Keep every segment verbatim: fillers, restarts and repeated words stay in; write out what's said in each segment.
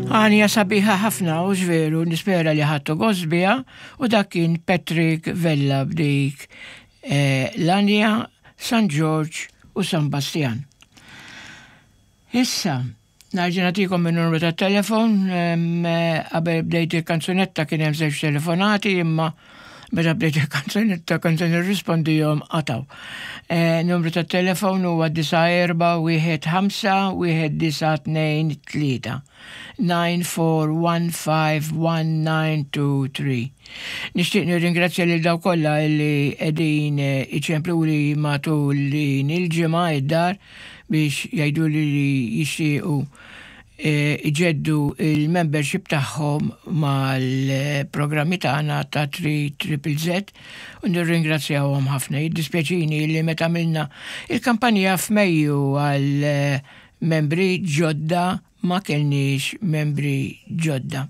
Għanja sabiħa ħafna u veru nispera li ħadtu gost biha u dak kien Patrick Vella b'dik eh, l-għanja San George u San Bastian. Issa, nerġa' nagħtikom il-numru ta' telefon, qabel bdejt il-kanzunetta kien hemm żewġ telefonati imma meta bdejt il-kanzunetta kont se nirrispondihom qataw. Eh, numru ta' telefon huwa disa' erba' wieħed ħamsa wieħed disa' tnejn tlieta. nine four one five one nine two three. Nixtieq nirringrazzja lil dawk kollha li qegħdin iċempluli matul din il-ġimgħa id-dar biex jgħidu li jixtiequ iġeddu il-membership tagħhom mal-programmi tagħna ta' three Triple Z u nirringrazzjawhom ħafna. Jiddispjaċini li meta għamilna il-kampanja f'Mejju għal membri ġodda ma kellniex membri ġodda.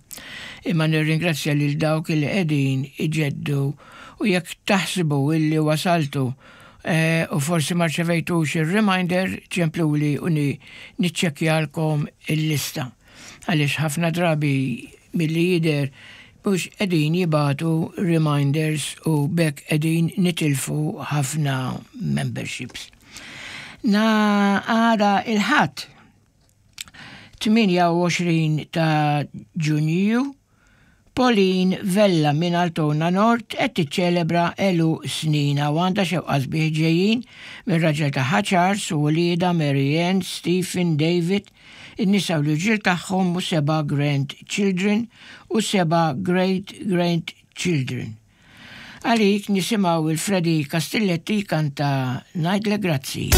Imma nirringrazzja lil dawk li qegħdin iġeddu u jekk taħsbu illi wasaltu eh, u forsi ma rċevejtux il-reminder, ċempluli u niċċekkjalkom il-lista. Għaliex ħafna drabi milli jidher mhux qegħdin jibagħtu reminders u b'hekk qegħdin nitilfu ħafna memberships. Na għada il-Ħadd tmienja u għoxrin ta' Ġunju, Pauline Vella minn Altona Nord qed tiċċelebra għeluq sninha u għandha xewqa sbieħ ġejjin minn raġel tagħha Charles u wliedha Marianne, Stephen, David, in-nisa u l-irġiel tagħhom u seba' grandchildren u seba' great grandchildren. Għalik nisimgħu il-Freddy Castilletti kanta Ngħidlek Grazzi.